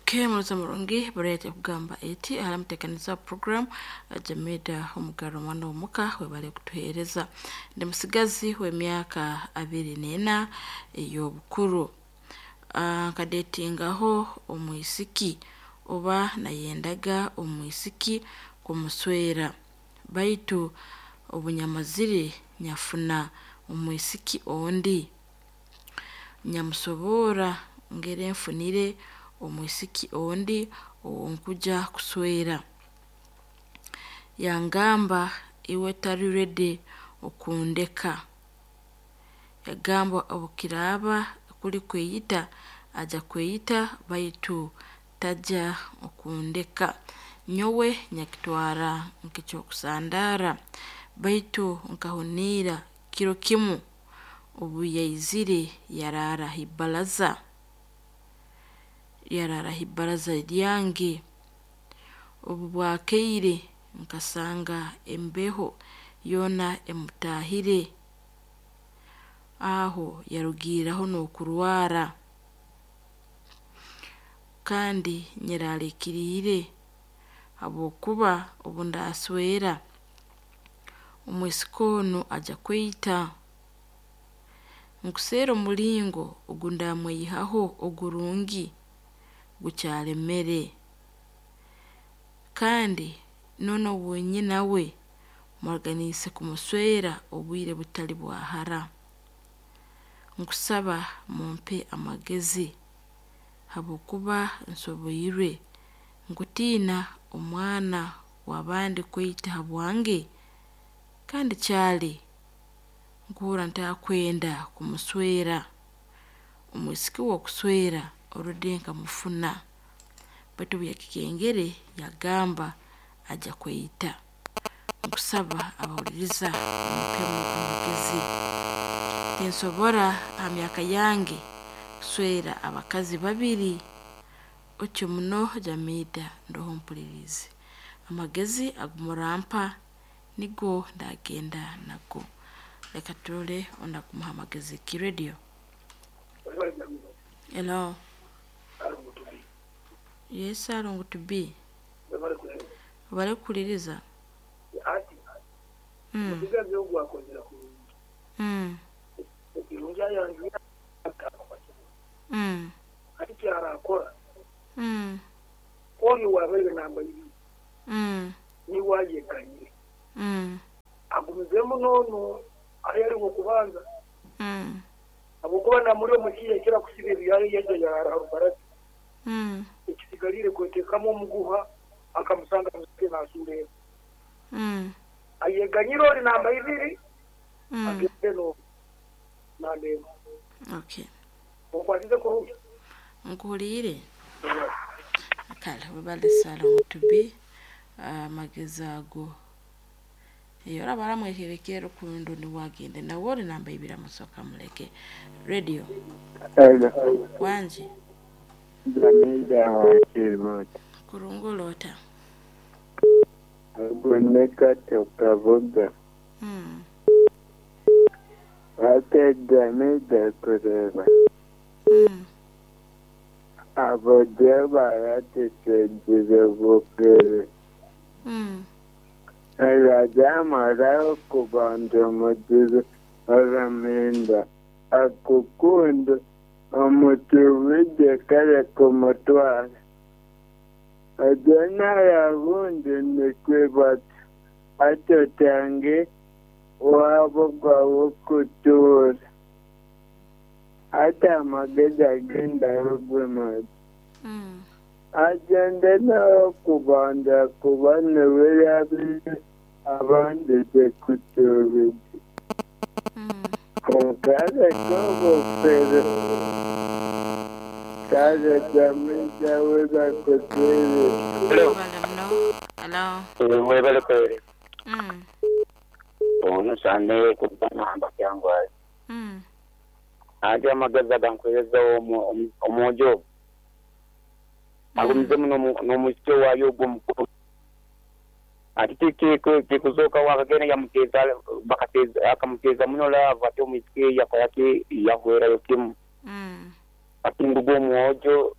Okay, muroza murungi burete kugamba eti aramutekaniza program Jamida omugaro mwana omuka webale kutuhereza. Ndi musigazi w'emyaka 24 ey'obukuru. Nkadetingaho omwisiki oba nayendaga omwisiki kumuswera, baitu obunyamazire nyafuna omwisiki ondi. Nyamusobora ngere nfunire omwisiki ondi owonkuja kuswera. Yangamba iwe tari ready okundeka. Yagamba obukiraaba kuli kweyita aja kweyita baitu taja okundeka. Nyowe nyakitwara nk'ekyokusandaara, baitu nkahuniira kiro kimu obu yaizire yaraara ha ibaraza. Yaraara ha ibaraza ryange. Obu bwakeire nkasanga embeho yoona emutaahire. Aho yarugiiraho n'okurwara. Kandi nyeraliikiriire habwokuba obu ndaswera omwisiki onu aja kweyita. Nkuseera omulingo ogu ndamweyihaho ogurungi gukyalemere. Kandi noonu owunyina we muraganiise kumuswera obwire butali bwa hara. Nkusaba mumpe amagezi habwokuba nsoboirwe. Nkutiina omwana w'abandi kweyita habwange kandi kyali nkuhurra ntakwenda kumuswera. Omwisiki w'okuswera already nkamufuna, baitu obu yakikengere yagamba aja kweyita. Nkusaba abahuliriza mumpemu amagezi. Tinsobora ha myaka yange kuswera abakazi babiri. Otyo muno Jamida ndoho mpuliriize. Amagezi agu murampa nigo ndagenda nago. Leka turole ondi akumuha amagezi ki radio. Hello. Yes, Alongo to be. Webale kukuliriza. Omusigazi ogu akozire kurungi. Ekirungi ayanjwire ati kyarakora oli owabaire namba ibiri niwe ayeganyire. Agumizemu n'onu ahi ari ow'okubanza habwokuba namuri omukiiha ekira kusiba ebyayo yaija yaraara ha rubaraza. Ekisigaliire kweteekamu omuguha akamusanga nasuura eka. Ayeganyire ori namba ibiri agende n'ogu namba emwe. Okay. Onkwasize kurungi? Nkuhuliire. Kale webale Salongo to be amagezi ago. Eyo oraba aramwekerekera rukundo niwe agende nawe ori namba ibiri amusooka amuleke. Radio. Hello. Wangi. Jamida wakirota. Kurungi oloota. Agoneka tukavuga. Ate Jamida kureba. Abo baratusengire bukere. Erajamara kubanza omuzibe oramenda akukunda omutumije kare kumutwara. Ajana yabundi nikwebata atotange wabo gwawokutuura. Ate amagezi agenda rugwemazi. Agende n'okubanza kuba niwe yabire abandize kutuubija. Konka areke obufere. Kare Jamida we bakutwire. Hello. Webale muno. Hello. Webale kweri. Ono sane kuba namba kyangwaye. Ate amagezi agankweza omwojo. Agumizemu n'omusyo waayo ogwo omukuru. Ati tikuzoka wakagenda yamuteza bakateza akamuteza muno lava ate omwisiki yakola ki yahwerayo kimu. Hati ngu omwojo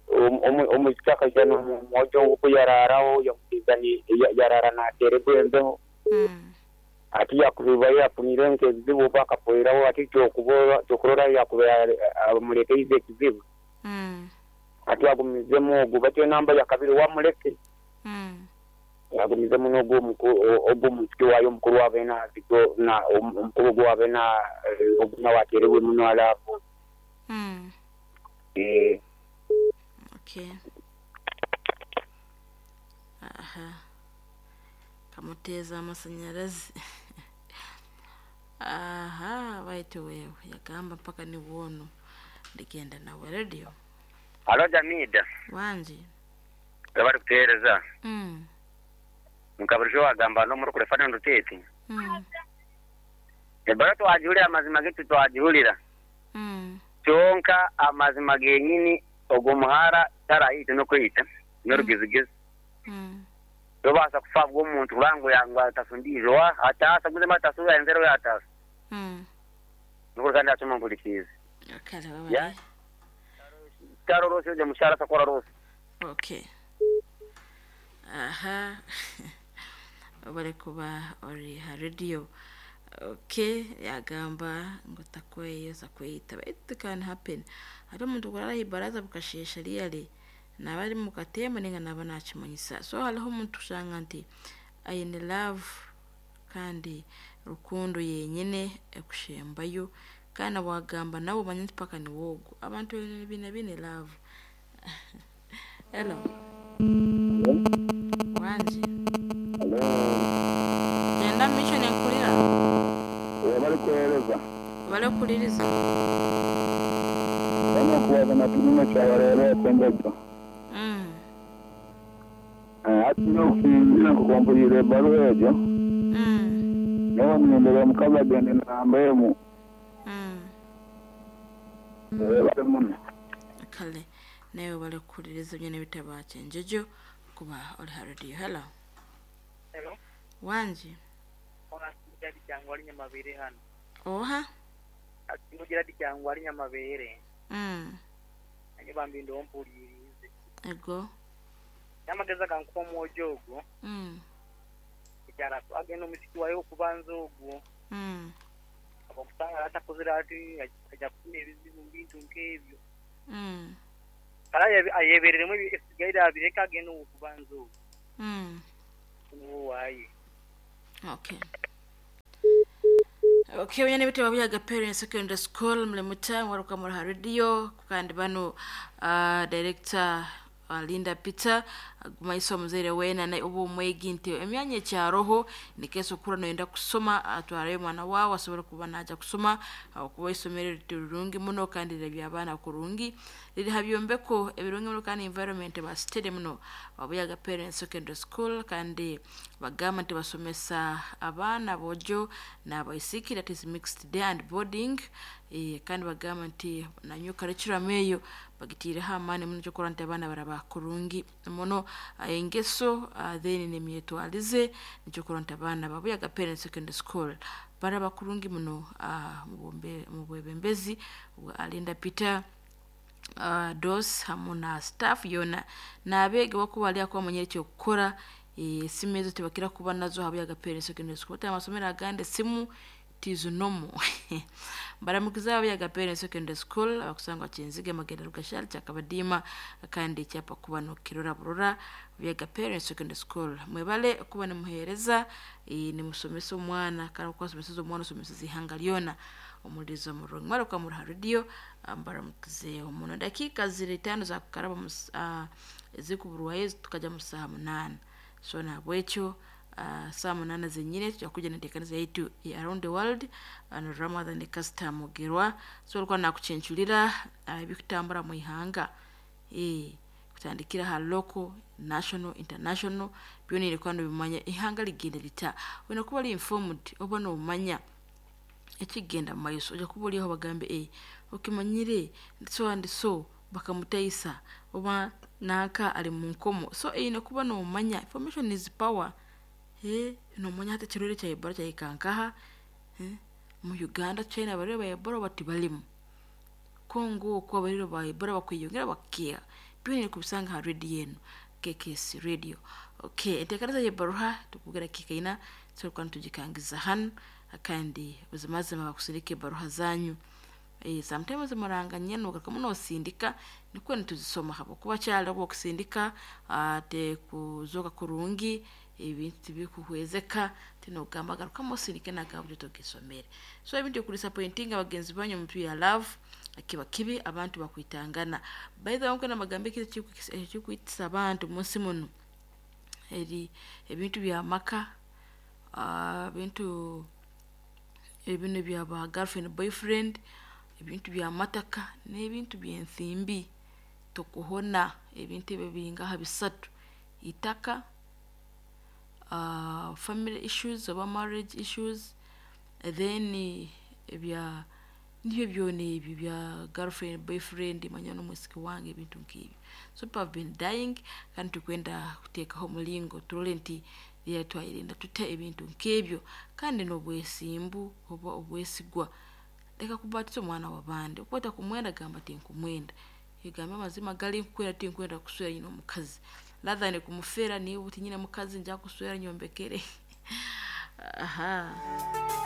omwishiki akaija n'omwojo ogu ku yaraaraho yamuteeza yaraara naateererwa embeho. Hati yaakuba yaafunireyo nk'ebizibu oba akafeeraho hati ky'okurora yaakuba amureeteize ekizibu. Hati agumizemu ogu bati enamba yakabiri wamuleke. Agumizemu n'ogu ogu omwishiki waayo omukuru abe omukuru ogu abe ogu nawe ateerebwe muno laavu. Eeh. Okay. Aha. Kamuteeza amasanyarazi. Aha, baitu wewe yagamba mpaka ni wono ndigenda nawe radio. Halo Jamida. Wangi. Webale kutuhereza. Nka burijo wagamba n'omuri kure Ferdinand Rutete. Ebaruha twagihurira amazima gitu twagihurira. Kyonka amazima genyini ogwo muhara tarayiita n'okweyita n'orugezigezi. Tobaasa kufa ahabw'omuntu kureba ngu ngu atasa ondiijo. Wa ataasa gumizemu atase ou yaayenzire abe yaataasa. Nikwo kandi naacuma mpurikiize. Kare webale. Taroroosya ogwo mushaara takora roosa. Okay. Aha. Webale kuba ori ha radio. Okay, yagamba ngu takweyoza kweyita baitu it can happen. Hariho omuntu kurara aha ibaraza bukasheesha really naaba ari omu katemba nainga naaba naakimanyisa. So hariho omuntu kushanga nti aine love kandi rukundo yenyine ekushembayo kandi na waagamba nawe omanye nti mpaka niwe ogu. Abantu baine baine love. Hello. Wangi. Gyenda omu maisho ninkuhurira. Webale kuheereza. Webale kuhuririza. Mbwenu okubaza na Tumume kyabareeba okw'enjojo. Hati nyowe okusinziira nk'oku mpuriire ebaruha egyo, nyowe niinyendera omukazi agyende namba emwe. Webale muno. Kale naiwe webale kuhuririza byona ebitabo Kyenjojo kuba ori ha radio. Hello. Hello. Wangi. Gerald Kyangwali Nyamabere hanu. Oha? Ati ngu Gerald Kyangwali Nyamabere. Nanye bambi ndoho mpuriiriize. Ego. N'amagezi agankuha omwojo ogwo. Ekyaro agenda omwishiki waye ow'okubanza ogwo. Habw'okusanga atakozire ati aija kufuna ebizibu mu bintu nk'ebyo. Kale ayebereremu ebisigaire abireke agende ow'okubanza ogwo. Niwe owaaye. Okay. Okay, banyana bitabo bya Gapere Secondary School mulimuta waruka muri ha radio kandi bano director Linda Peter agumaiso omuzaire weena naye oba omwegi nti emyanya ekyaroho nikeesa okura noyenda kusoma atwarayo omwana waawe asobole kuba naaja kusoma ahabw'okuba eisomero eri rirungi muno kandi rirabya abaana kurungi riri ha byombeko ebirungi muno kandi environment eba steady muno Wabuyaga Parents Secondary School kandi bagamba nti basomesa abaana aboojo n'abaisiki that is mixed day and boarding kandi bagamba nti na new curriculum eyo bagitiireho amaani muno ekyokurora nti abaana baraba kurungi muno engeso then n'emyetwarize nikyo kurora nti abaana ba Buyaga Parents Secondary School baraba kurungi muno omu bwebembezi bwa Alinda Peter Dos hamu na staff yoona n'abeegi abakuba bari ahakuba bamanyire eky'okukora esimu ezo tibakira kuba nazo aha Buyaga Parents Secondary School hati amasomero agandi esimu tizinomu. Baramukize aba Buyaga Parents Secondary School abakusangwa Kyenzige, Magenda, Rugashari, Kyakabadiima kandi ekyapa kuba nokirora burora Buyaga Parents Secondary School. Mwebale kuba nimuheereza nimusomesa omwana kandi oku wasomeseza omwana osomeseza eihanga ryona omuhuririza omurungi. Mwebale kuba muri ha radio mbaramukize muno. Dakiika ziri itaano zakukaraba ezikuburwayo tukagya mu saaha munaana. So nahabwekyo saaha munaana zenyine tugya kugira enteekaniza yaitu eya around the world na Ramadhan Kasita Mugerwa. So orikuba nakucencurira ebikutambura omu ihanga kutandikira aha local, national, international byona oine kuba nobimanya eihanga rigenda rita. Oine kuba ori informed oba nomanya ekikugenda omu maiso oija kuba ori aho bagambe okimanyire so and so bakamutaisa oba nanka ari omu nkomo. So oine kuba nomanya information is power nomanya hati ekirwaire kya Ebola kyahika nkaha, omu Uganda China abarwaire ba Ebola oba tibarimu. Kongo okwo abariro ba Ebola bakweyongera bakeha. Byona kubisanga ha radio eno KKS radio. Okay, enteekanisa y'ebaruha tukugera kikaina turukuba nitugikangiza hanu kandi buzimazima bakusindika ebaruha zanyu. Sometimes muranganye nogaruka munosindika nikwo nituzisoma habwokuba kyali okusindika tekuzoka kurungi ebintu tibikuhwezeka tinogamba garukamu osindike nagaburi togisomere. So ebintu okudisappointinga bagenzi banyu omu ya love kiba kibi, abantu bakwitangana. By the way, nkwenda magambo ekikwitisa abantu munsi muno eri ebintu bya maka, ebintu ebino bya ba girlfriend boyfriend, ebintu bya mataka n'ebintu by'ensimbi. Tokuhona ebintu ebyo biringaha bisatu: itaka, family issues oba marriage issues, then ebya nibyo byona ebyo bya girlfriend boyfriend manya n'omwisiki wange ebintu nk'ebyo. So people have been dying kandi tukwenda kuteekaho omulingo turole nti twayerinda tuta ebintu nk'ebyo kandi n'obwesimbu oba obwesigwa. Leka kubatisa omwana w'abandi, okuba otakumwenda gamba tinkumwenda, egambe amazima gali nkukwenda tinkwenda kuswera nyine omukazi rather than kumufera niiwe tinyine mukazi nja kuswera nyombekere. Aha.